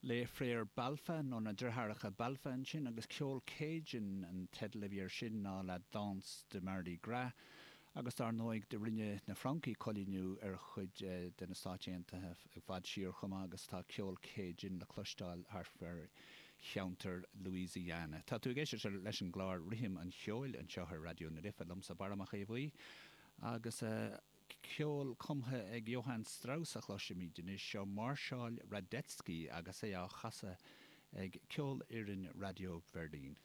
Les Frères Balfa, nó na Deartháireacha Balfa ansin, agus ceol Cajun an teideal a bhí air sin ná La Danse de Mardi Gras. Agus dar ndóigh do rinne na Francaigh coilíniú ar chuid de na Stáit Aontaithe i bhfad siar chomh maith agus tá ceol Cajun le cloisteáil thart far cheantar Louisiana. Tá tú ag éisteacht leis an gclár Rithim an Cheoil anseo ar Raidió na Life liomsa Barra Mac Aodha Bhuí agus. Ceol cumtha ag Johann Strauss a chloisfimid anois, seo Máirseáil Radetzky agus é á chasadh ag Ceolfhoireann Raidió Bheirlín.